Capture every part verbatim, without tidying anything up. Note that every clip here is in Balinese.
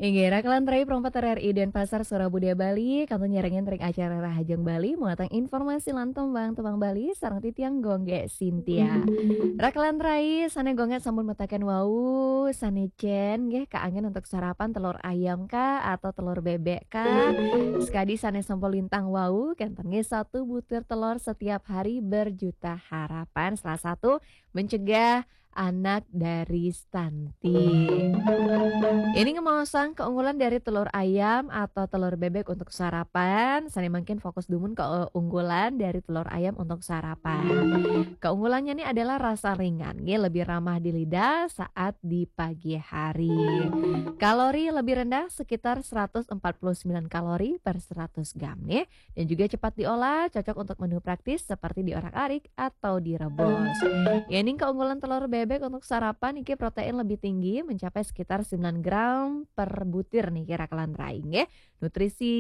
Inggih, Rakelan Rai Pro empat R R I Denpasar, Suara Budaya Bali, kantun nyarengin ring acara Rahajeng Bali, muatan informasi lan tembang-tembang Bali, sareng titiang Gung Gé Sintia. Rakelan Rai, sané Gung Gé sampun metaken wau, sané cén, nggih, kaanggén untuk sarapan telur ayam kah atau telur bebek kah? Sakadi sané sampun lintang wau, kénten nggih satu butir telur setiap hari berjuta harapan. Salah satu mencegah anak dari stunting. Ini ngemaosang keunggulan dari telur ayam atau telur bebek untuk sarapan. Sané mangkin fokus dumun keunggulan dari telur ayam untuk sarapan. Keunggulannya ini adalah rasa ringan, nggih, lebih ramah di lidah saat di pagi hari. Kalori lebih rendah, sekitar seratus empat puluh sembilan kalori per seratus gram, nggih. Dan juga cepat diolah, cocok untuk menu praktis seperti diorak-arik atau direbus. Yéning keunggulan telur bebek untuk sarapan, niki protein lebih tinggi, mencapai sekitar sembilan gram per butir niki, Rakelan Rai, nggih. Nutrisi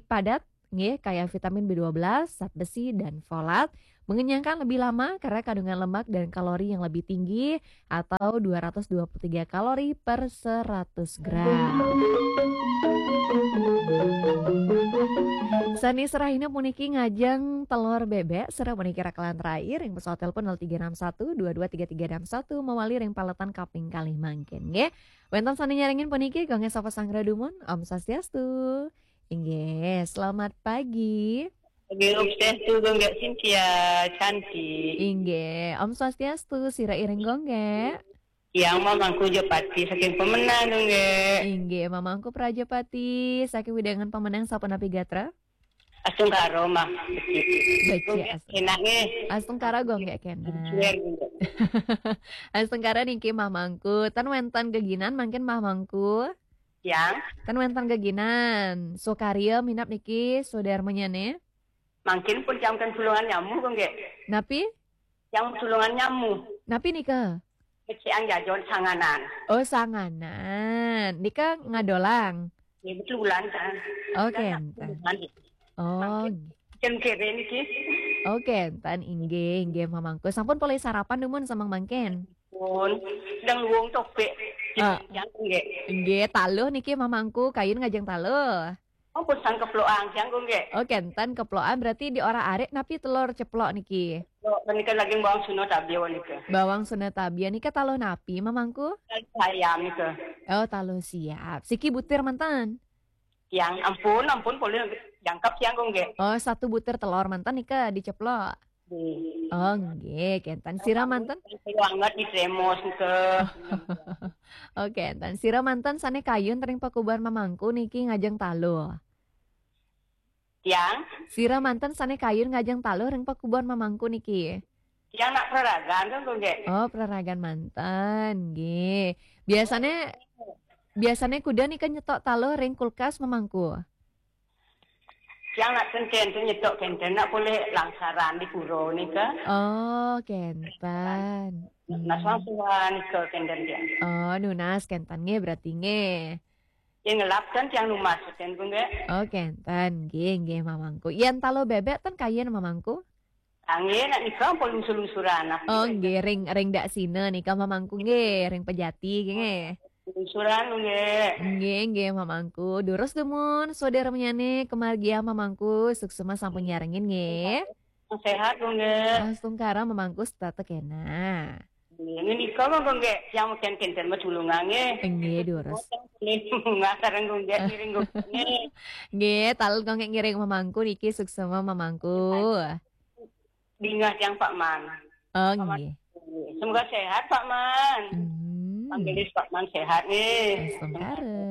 padat, nggih, kayak vitamin B dua belas, zat besi, dan folat. Mengenyangkan lebih lama karena kandungan lemak dan kalori yang lebih tinggi, atau dua ratus dua puluh tiga kalori per seratus gram. Sané serahina puniki ngajeng telur bebek, sira puniki Rakelan Rai ring pesawat telepon nol tiga enam satu dua dua tiga tiga enam satu, mawali ring paletan kaping kalih mangkin, nggih. Wénten sané nyarengin puniki, Gung Gé sapa sanggra dumun? Om Swastiastu. Inggih, selamat pagi. Nggih, Om Swastiastu, Gung Gé Sintia, Cantik. Inggih, Om Swastiastu, sira iring Gung Gé. Tiang Mamangku Jepati saking Pemenang, Gung Gé. Inggih, Mamangku Prajepati saking wewidangan Pemenang, sapunapi gatra? Astungkara, Mah. Becik, Gung Gé, astungkara. Enak nggih. Astungkara, Gung Gé, kénten. Share, Gung Gé. Astungkara niki, Mamangku. Tan wénten geginan mangkin, Mamangku? Tiang. Tan wénten geginan. Sukarya minab niki, sudarmanyané? Mangkin pun tiang ten sulungan nyamu, Gung Gé. Napi? Tiang sulungan nyamu. Napi nika? Becik jajon sanganan. Oh, sanganan. Nika ngadolang? Ya, betulan, kan. Oh, kénten. Oh, mangkin kere niki. Oh, kénten, inggih, inggih, Mamangku. Sampun polih sarapan dumun sameng mangkin? Pun, sedang luwung topik. Ah. Tiang, Gung Gé. Inggih, taluh niki, Mamangku, kayun ngajeng taluh. Oh, pun sang keplokan, Gung Gé. Oh, kénten keplokan, berarti diorak-arik napi telur ceplok niki? Keplokan nika daging bawang Sunda Tabia nika. Bawang Sunda Tabia nika taluh napi, Mamangku? Taluh ayam nika. Oh, taluh siap. Siki butir manten? Tiang, ampun, ampun, polih jangkep tiang, Gung Gé. Oh, satu butir telur manten nika diceplok? Nggih. Oh, nggih, kénten. Sira manten? Banget di Tremos nika. Oh, kénten. Sira manten sané kayun ring pakubuhan Mamangku niki ngajeng taluh? Tiang? Sira manten sané kayun ngajeng taluh ring pakubuhan Mamangku niki? Tiang nak praragan, kan, Gung Gé. Oh, praragan manten, nggih. Biasané, biasané kuda nika nyetok taluh ring kulkas, Mamangku? Tiang nak ten kénten nyetok, kénten nak polih langsaran di pura nika. Oh, kénten. Nunas langsaran nika kénten tiang. Oh, nunas kénten nggih, berarti nggih. Yén ngelap ten tiang numas ten, Gung Gé. Oh, kénten, nggih, nggih, Mamangku. Yén taluh bebek ten kayun, Mamangku? Nggih, nak nika ampun lungsur-lungsuran, nah. Oh, nggih, ring, ring daksina nika, Mamangku, nggih, ring pejati nggih. Lungsuran, nggih. Nggih, nggih, Mamangku. Durus dumun, sudarmanyané, kemargiang, Mamangku, suksma sampun nyarengin nggih. Séhat, Gung Gé. Astungkara, Mamangku, setata kéné. Nggih, nika mah, Gung Gé, tiang mangkin kénten matulungan nggih. Nggih, durus. Nggih, taluh Gung Gé ngiring, Gung Gé. Nggih, taluh Gung Gé ngiring, Mamangku, niki suksma, Mamangku. Bingah tiang Pak Man. Oh, nggih. Semoga sehat, Pak Man. Hmm. Panggelis Pak Man sehat nggih. Astungkara.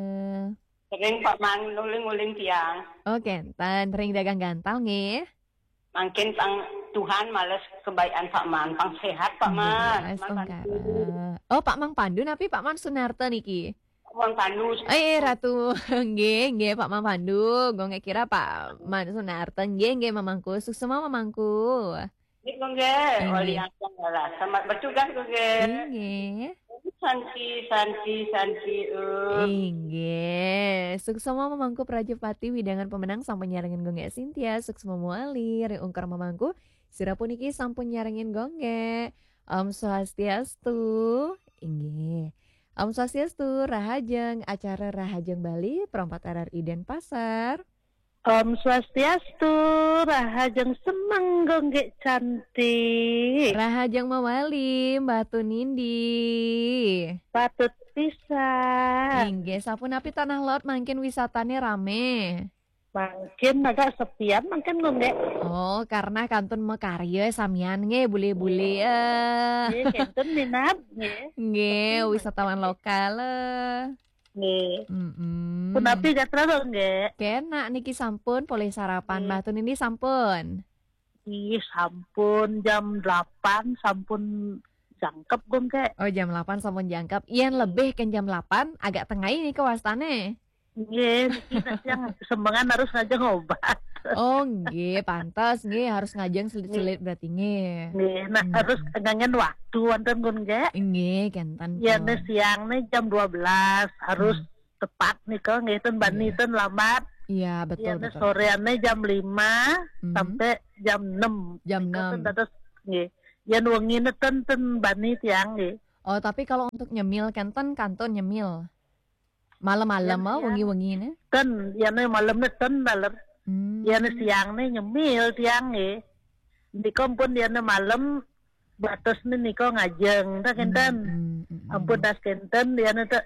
Sering Pak Man nguling-nguling tiang. Oh, kénten, ring dagang gantal nggih. Mangkin pang Tuhan males kebaikan Pak Man, pang sehat Pak Man. Nggih, astungkara. Oh, Pak Man Pandu napi Pak Man Sunarta niki? Pak Man Pandu. Eh, eh, Ratu. Nggih, nggih, Pak Man Pandu. Gung Gé kira Pak Man Sunarta. Nggih, nggih, Mamangku. Suksma, Mamangku. Nggih, Gung Gé. Nggih. Wali Agung Lala. Selamat bertugas, Gung Gé. Nggih. Santi, Santi, Santi, eh. Inggih. Suksma, Mamangku Prajepati, wewidangan Pemenang sampun nyarengin Gung Gé Sintia, suksma mawali, ring ungkur Mamangku. Sira puniki sampun nyarengin Gung Gé. Om Swastiastu. Inggih. Om Swastiastu, rahajeng acara Rahajeng Bali, Pro empat R R I Denpasar. Om Swastiastu, rahajeng semeng Gung Gék cantik. Rahajeng mawali, Mbah Tunindi. Patut pisan. Inggih, sapunapi Tanah Laut mangkin wisatane rame? Mangkin agak sepian mangkin Gung Gék. Oh, karena kantun makarya samian nggih, bule-bule eh. Nggih, kenten minat nggih. Nggih, wisatawan lokal eh. Nggih. Mm-mm. Punapi gatra Gung Gék? Kenak niki sampun polih sarapan, Nggih. Mbah Tunindi sampun. Ih, sampun jam delapan sampun jangkep Gung Gék. Oh, jam delapan sampun jangkep. Yen lebih ke jam delapan, agak tengai nika wastane. Nggih, niki nak yang semengan harus ngajeng obat. Oh, nggih, pantes nggih harus ngajeng selit-selit berarti nggih. Nggih, nah Hmm. harus ngangen waktu wonten Gung Gék. Nggih, kenten. Ya, Pun. Nih siang nih jam dua belas harus Hmm. tepat nika nggih ten bani Nggih. ten lambat. Iya, betul, Ya, Nih betul. Soreane jam lima Hmm. sampai jam enam. Jam Nika enam. Ten dados nggih. Yen wengine ten ten bani tiang nggih. Oh, tapi kalau untuk nyemil kenten kantun nyemil. Malam-malam Yen ah, siang. Wengi-wengi nih. Ten, yen malam nih ten daler. Hmm. Yen siang nih nyemil tiang nggih. Nika pun yen malam batas nih nika ngajeng ta kenten. Hmm, hmm, hmm, Ampun hmm. Das kenten yen te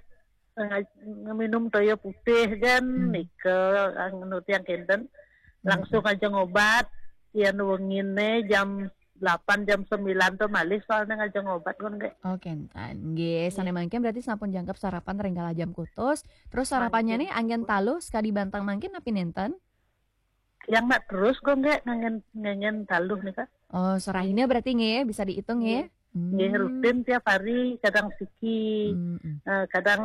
ngaj- ngeminum toyo putih kan Hmm. nika anu tiang kenten. Hmm. Langsung ngajeng obat yen wengine jam delapan jam sembilan tuh malih soalnya ngajeng obat Gung Gék. Oh, kenten. Nggih, Nggih. Sane mangkin berarti sampun jangkep sarapan ring kala jam kutus. Terus sarapannya Mangkin. Nih anggen taluh sekadi bantang mangkin napi nenten? Yang nak terus Gung Gék ngangen ngangen taluh nika. Oh, sorahina berarti nggih bisa dihitung nggih. Nggih. Nggih, Hmm. Rutin tiap hari kadang siki. Hmm, hmm. Eh, kadang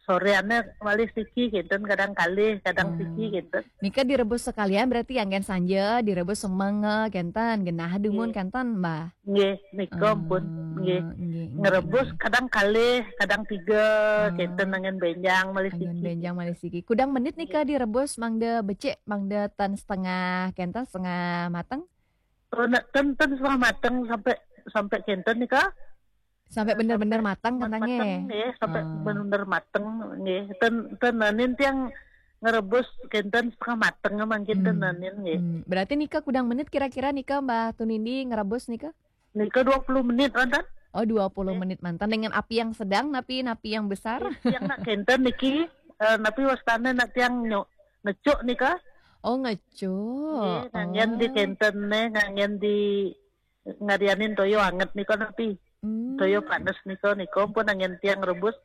soreane malih siki kenten, kadang kalih, kadang Oh. siki kenten. Nika direbus sekalian berarti anggen sanja, direbus semeng eh, kenten, genah dumun Nggih. Kenten, Mbah. Nggih, nika pun Ah, nggih. nggih, nggih, Ngerebus nggih. Kadang kalih, kadang tiga, Ah. Kenten anggen benjang malih Anggen siki. Benjang malih siki. Kudang menit nika Nggih. Direbus mangda becik, mangda ten setengah, kenten setengah mateng? Oh, nak ten ten setengah mateng sampai sampai kenten nika. Sampai bener-bener mateng Mat- kentangnya. Mateng nggih, sampai Ah. bener-bener mateng nggih. Ten ten nanin tiang ngerebus kenten setengah mateng mangkin ten Hmm. nanin nggih. Hmm. Berarti nika kudang menit kira-kira nika Mbah Tunindi ngerebus nika? Nika dua puluh menit wonten. Oh, dua puluh Nggih. Menit manten dengan api yang sedang napi napi yang besar? Tiang nak kenten niki eh, napi wastane nak tiang nyok ngecuk nika. Oh, ngecuk. Nggih, ngangen di Oh. Kenten ne, ngangen di ngarianin toyo anget nika napi. Hmm. Toyo panes nika nika pun anggen tiang rebus.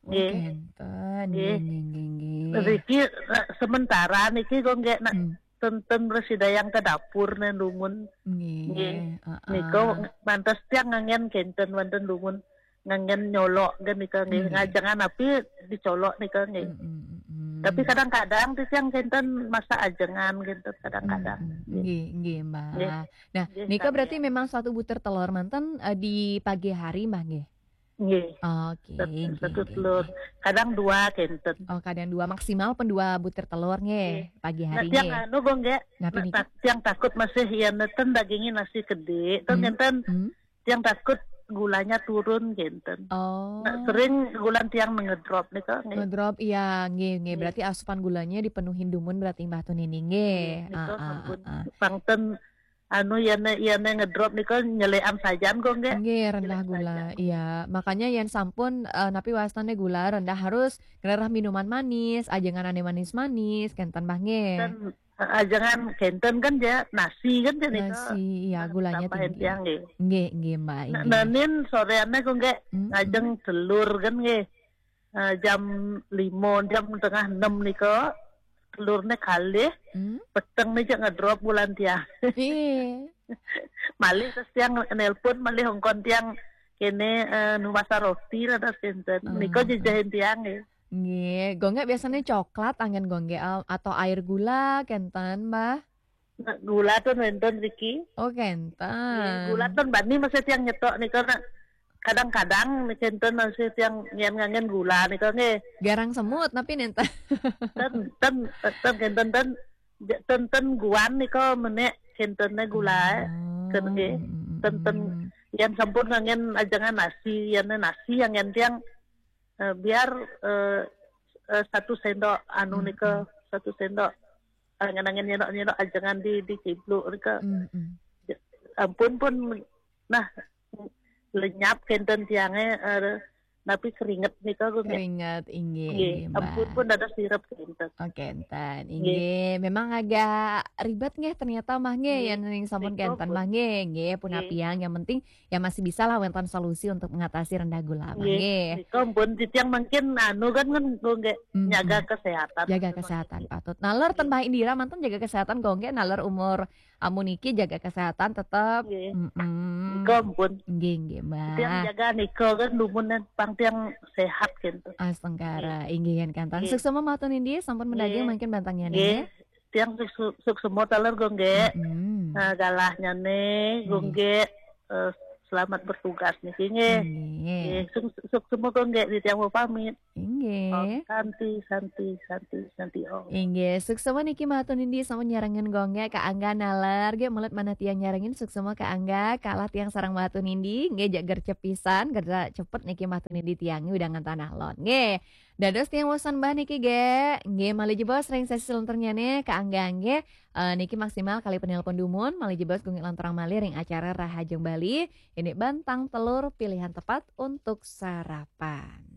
Oh, Nggih. Kenten. Nggih. Nggih, nggih, nggih, nggih. Riki eh, sementara niki kok nggih nak Hmm. Ten ten mresidayang ke dapur ne lungun. Nggih. Nggih. Heeh. Nika mantes tiang ngangen kenten wonten lungun. Ngangen nyolok kan nika nggih. Nggih. Ngajengan api dicolok nika nggih. Mm, mm, mm, mm. Tapi kadang-kadang ti tiang kenten masak ajengan kenten kadang-kadang. Mm, mm. Nggih, nggih, Mbah. Nggih. Nah, Nggih, nika berarti samian. Memang suatu butir telur manten eh, di pagi hari, Mbah, nggih? Nggih. Oke, Satu, nggih, satu nggih, telur. nggih. Kadang dua kenten. Oh, kadang dua, maksimal pun dua butir telur, nggih, Nggih. pagi Nah, hari, tiang nggih. Anu kok nggih. Napa Nah, niki? tak- tiang takut masih ya neten dagingnya nasi gede. Ten Hmm. Kenten Hmm. Tiang takut gulanya turun kenten. Oh. Nah, sering gula tiang ngedrop nika nggih. Ngedrop, iya, nggih, nggih. Nggih. Berarti asupan gulanya dipenuhin dumun berarti Mbah Tunini, nggih. Nggih, nika Ah, ah, sampun. Ah, ah. Pangten anu yen yen ngedrop nika nyelekan sajan kok nggih. Nggih, rendah Jelek gula. saja. Iya, makanya yen sampun eh, napi wastane gula rendah harus ngrereh minuman manis, ajengan ane manis-manis, kenten Mbah nggih. Kan eh, ajengan kenten kan ya nasi kan ya nika. Nasi, iya, gulanya Tambahin tinggi. tiang nggih. Nggih, nggih, Mbak, Nah, nggih. Nanin soreane kok nggih Mm-mm. ngajeng telur kan nggih. Eh, jam lima, jam tengah enam nika telurnya kalih, Hmm? Peteng nih ngedrop gula tiang. Iya. Malih terus tiang nelpon, malih hongkon tiang kene eh, nu masak roti lah terus kenten. Hmm. Nika jejahin tiang ya. Nggih, gonggek biasanya coklat anggen gonggek eh, atau air gula kenten, Mbah? Nah, gula tuh nenten Riki. Oh, kenten. Nggih, gula ten bani masih tiang nyetok nika nak kadang-kadang nih kenten masih tiang ngen ngangen gula nika nggih. Garang semut tapi nenten. Ten ten ten kenten ten ten ten guan nika menek kentene gula. Oh, Ken nggih. mm, mm, Ten ten mm. Yang sampun ngangen ajengan nasi, yang nasi yang ngen tiang Eh, biar eh, eh, satu sendok anu nika, satu sendok angin-angin nyendok-nyendok ajengan di di ciblu nika. Ampun pun nah lenyap kenten tiangnya eh, tapi keringet nika gue nggak. Keringet, inggih, Nggih, inggih, Mbak. Ampun pun ada sirep kenten. Oke, enten. Inggih, memang agak ribet nggih ternyata mah nggih Nggih. yang ning sampun Nika kenten pun. Mah nggih, nggih pun Nggih. Apiang, yang penting ya masih bisa lah wenten solusi untuk mengatasi rendah gula Mah Nggih. nggih. Nika ampun titiang mungkin anu kan kan gue nggak Mm-mm. nyaga kesehatan. Jaga kesehatan patut. Naler ten Mbak Indira manten jaga kesehatan gue nggih, naler umur amun niki jaga kesehatan tetap. Nggih. Mm-mm. Nika ampun. Nggih, nggih, Tiang Mbak. Jaga nika kan lumunan pang tiang sehat gitu. Astungkara, inggih yen kantan. Nggih. Suksema matur nindih sampun mendaging Nggih. Mangkin bantangnya Nggih. nggih. Tiang suk suk semua taler gue nggak. Mm-mm. Eh, galahnya nih gue Nggih. nggak eh, selamat bertugas nih nggih. Nggih. Nggih, suk suk semua gue nggak di tiang mau pamit. Oh, Inggih. santi santi santi santi oh. Inggih, suksema niki matur nindih sampun nyarengin gue nggih, Kak Angga naler nggih, melet manah tiang nyarengin, suksema Kak Angga, kalah tiang sareng matur nindih nggih, jak gercep pisan, gerda cepet niki matur nindih tiang udah ngentanah lon nggih. Dados tiang wosan Mbah niki nggih, nggih malih jebos ring sesi selenternyane Kak Angga nggih. Eh, niki maksimal kali penelpon dumun, malih jebos gue ngilang terang malih ring acara Rahajeng Bali. Ini bantang telur pilihan tepat untuk sarapan.